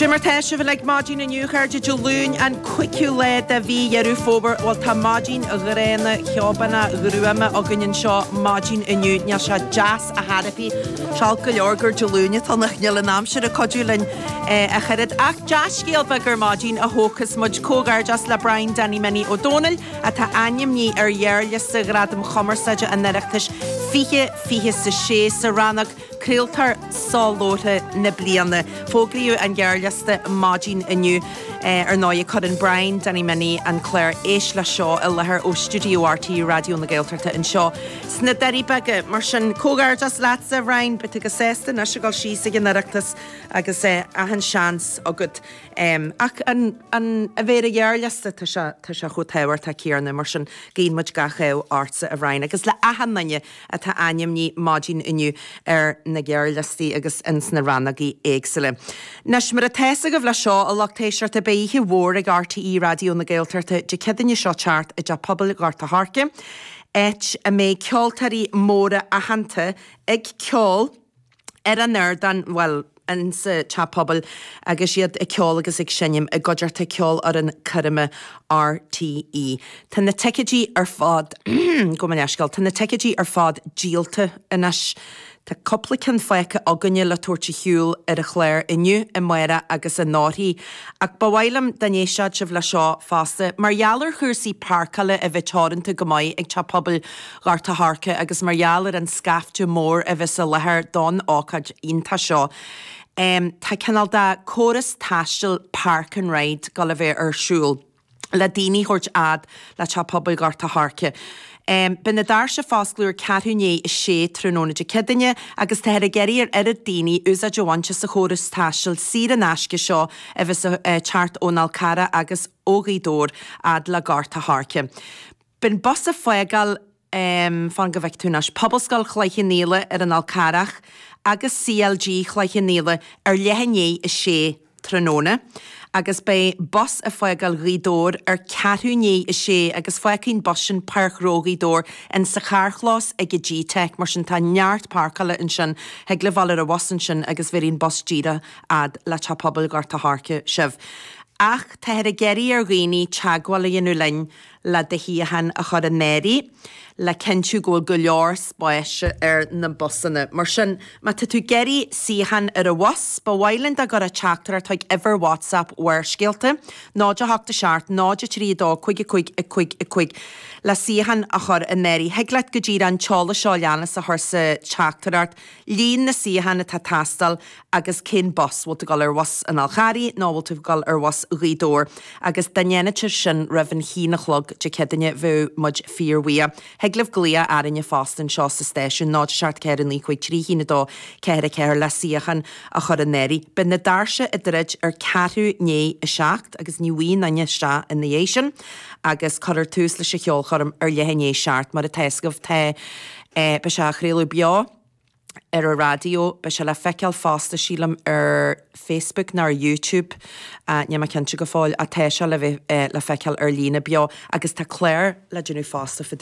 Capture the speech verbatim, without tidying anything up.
Cad é mar tá sibh uilig maidin inniu chairde Dé Luain an cúigiú lá de mhí Dheireadh Fómhair bhuel tá maidin ghránna cheobánna ghruama againn anseo maidin inniu níl sé deas ar chor ar bith Seol go leor gur Dé Luain atá nach níl an aimsir ag cuidiú linn ach oiread ach dea-scéal beag ar maidin a thógfas muid comhghairdeas le Brian Danny Minnie Ó Dónaill atá ainmnithe ar ghearrliosta Ghradaim Chumarsáide an Oireachtais fiche fiche sa sé sa rannóg Craoltóir Soláthair na bliana. Fógraíodh an gearrliosta maidin inniu ar ndóigh cuireann Brian Danny Minnie an clár Éist Leis Seo i láthair ó Stiúideo RTÉ Raidió na Gaeltachta anseo. Sna Doirí Beaga mar sin comhghairdeas leatsa Brian beidh tú go sásta anois ag dul síos ag an Oireachtas agus é achan seans agat. Um, ach an, an a bheith ar an ghearrliosta tá sé tá sé chomh tábhachtach céanna mar sin guíonn muid gach ádh ortsa a Bhrian, agus le achan duine atá ainmnithe maidin inniu ar na gearrliostaí agus ins na rannógaí éagsúla. Anois mar atá agaibh le seo a lucht éisteachta beidh oíche mhór ag RTÉ Raidió na Gaeltachta Dé Céadaoine seo teacht i dTeach Pobail Ghort a' Choirce, áit a mbeidh ceoltóirí móra aitheanta ag ceol ar an ardán well in sa teach pobail agus iad ag ceol agus ag seinm i gcuideachta ceolfhoireann coirme RTÉ. Tá na ticéidí ar fad go leisceáil, Tá na ticéidí ar fad díolta anois. Tá cúpla ceann fágtha againne le tabhairt ar shiúl ar an chlár inniu amárach agus anóirí. Ach ba mhaith liom dá n-éistfeadh sibh le seo fosta, mar gheall ar chúrsaí páirceála a bheith teoranta go maith ag Teach Pobail Ghort a' Choirce agus mar gheall ar an scaifte mór a bheas i láthair don ócáid iontach seo. Um, tá cineál de córas taistil park and ride ag dul a bheith ar siúl le daoine a thabhairt fhad le Teach Pobail Ghort a' Choirce. Um, Beidh na doirse ag foscladh ar ceathrú i ndiaidh a sé tráthnóna Dé Céadaoine agus táthar ag iarraidh ar oiread daoine úsáid a bhaint as an chóras taistil saor in aisce seo a bheas uh, teacht ón Fhál Carrach agus ó Ghaoth Dobhair fhad le Gort a' Choirce. Beidh an bus ag fágáil um, fan go bhfeicfidh tú anois Pobalscoil Chloich Cheann Fhaola ar an Fhál Carrach agus CLG Chloich Cheann Fhaola ar leath i ndiaidh a sé tráthnóna. agus beidh bus ag fágáil Ghaoth Dobhair ar ceathrú i ndiaidh a sé agus fágfaidh an bus sin Páirc Ghnó Ghaoth Dobhair in sa charrchlós ag an G-Tech mar sin tá neart páirceála ansin thig libh dul ar an bhus ansin agus bhéarfaidh an bus díreach fhad le Teach Pobail Ghort a' Choirce sibh. Ach táthar ag iarraidh ar dhaoine teagmháil a dhéanamh linn le do shuíochán a chur in áirithe, le cinntiú go bhfuil go leor spáis ar na busanna. Mar sin má tá tú ag iarraidh suíochán ar an bhus, ba mhaith linn dá gcuirfeá teachtaireacht chuig uimhir WhatsApp Bharrscéalta, náid a hocht a seacht, náid a trí a dó, cúig a cúig a cúig a cúig le suíochán a chur in áirithe. Thig leat go díreach an t-eolas seo leanas a chur sa teachtaireacht, líon na suíochán atá ag teastáil agus cén bus bhfuil tú ag dul ar bhus an Fháil Charraigh nó bhfuil tú ag dul ar bhus Ghaoth Dobhair agus dá ndéanfá sin roimh an haon a chlog Dé Céadaoine bheadh muid fíorbhuíoch. Thig libh glaoch orainne fosta anseo sa stáisiún náid seacht ceathair naoi cúig trí haon a dó ceathair a ceathair le suíochán a chur in áirithe. Beidh na doirse ag druid ar ceathrú i ndiaidh a seacht agus ní bhíonn éinne isteach ina dhiaidh sin agus cuirfear tús leis an cheolchoirm ar leath i ndiaidh a seacht mar atá agaibh tá eh, beidh sé á chraoladh beo ar an raidió, beidh sé le feiceáil fosta sílim ar Facebook nó ar YouTube uh, níl mé cinnte go fóill ach tá sé le bheith uh, le feiceáil ar líne beo agus tá clár le déanamh fosta fá